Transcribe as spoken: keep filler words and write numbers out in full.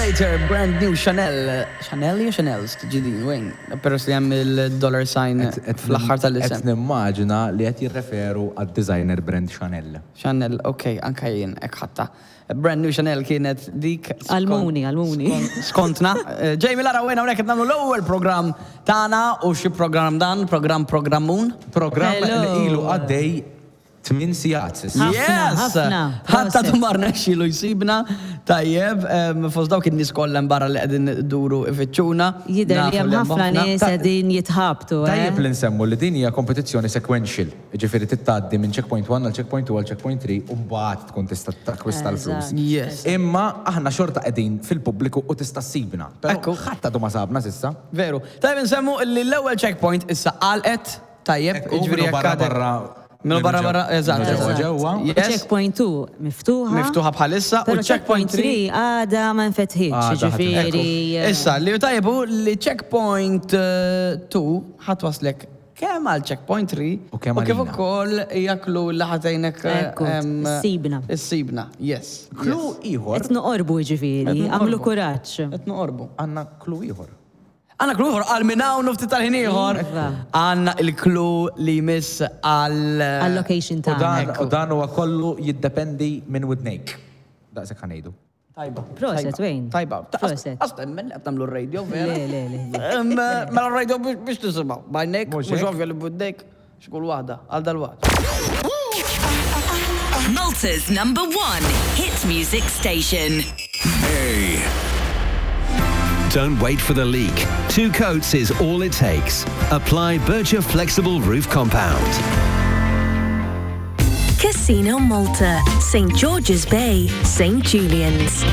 Later, brand new Chanel. Chanel jew Chanel's tiġi din, wejn? Peress li hemm il-dollar sign fl-aħħar tal-isem. Qed nimmaġina li qed jirreferu għad-designer brand Chanel. Chanel, ok, anka jien, hekk ħadtha. Brand new Chanel kienet dik. Għal-Muni, għal-Muni. Skontna. Eh, Jamie Lara wejna hawnhekk qed nagħmlu l-ewwel programm tagħna u xi programm dan, programm programmun. Programm Hello. li ilu għaddej tmien sigħat s'issa. Ħafna, Yes! ħafna. Ħatta Proset. tumar nexxilu jsibna, tajjeb, em, fost dawk in-nies kollha barra li qegħdin duru ifittxuna. Jidher li Nafu hemm ħafna nies Ta- qegħdin jitħabtu, eh? Tajjeb li nsemmu li din hija kompetizzjoni sequential. Ġifieri tgħaddi minn checkpoint one għal checkpoint two għal checkpoint three u mbagħad tkun tista' takkwista l-flus. Eżatt. Yes. Imma aħna xorta qegħdin fil-pubbliku u tista' ssibna. Però Ekku. ħadd għadu ma sabna s'issa. Veru. Tajjeb nsemmu li l-ewwel checkpoint issa għalqet, tajjeb, Ekku, jiġifieri minnu jekk barra għadek- barra. Minnu barra minnu barra, ġew- eżatt. minnu ġewwa eżatt. ġewwa. Yes. Checkpoint two miftuħa. Miftuħa bħalissa u Pero checkpoint checkpoint three three għada ma nfetħitx, Għada ħadd- ġifieri. eh, Issa, li tajjeb hu li checkpoint two ħa twasslek kemm għal checkpoint three U kemm u kif għalina. ukoll jaklu li ħa tgħinek Ekku, ssibna. Issibna, yes. Clue ieħor. Qed noqorbu ġifieri, Qed noqorbu. għamlu kuraġġ. Qed noqorbu. Għandna clue ieħor. Għandna clue ieħor għal minn hawn u ftit tal-ħin ieħor. Iva. Għandna il-clue li jmiss għal. Għal-location U tagħna. dan, u dan huwa kollu jiddependi minn widnejk. Daqshekk ħa ngħidu. Tajba. Proset, tajba, Wayne. Tajba. Proset. Għax temmen qed nagħmlu r-radio, vera. Le, le, le. Em, Mela r-radio biex biex tisimgħu. B'għajnejk, Mhux mhux hekk? ovvja li b'widnejk, xkull waħda, għal dal-waqt. Malta's number one hit music station. Hey. Don't wait for the leak. Two coats is all it takes. Apply Bircher Flexible Roof Compound. Casino Malta, Saint George's Bay, Saint Julian's.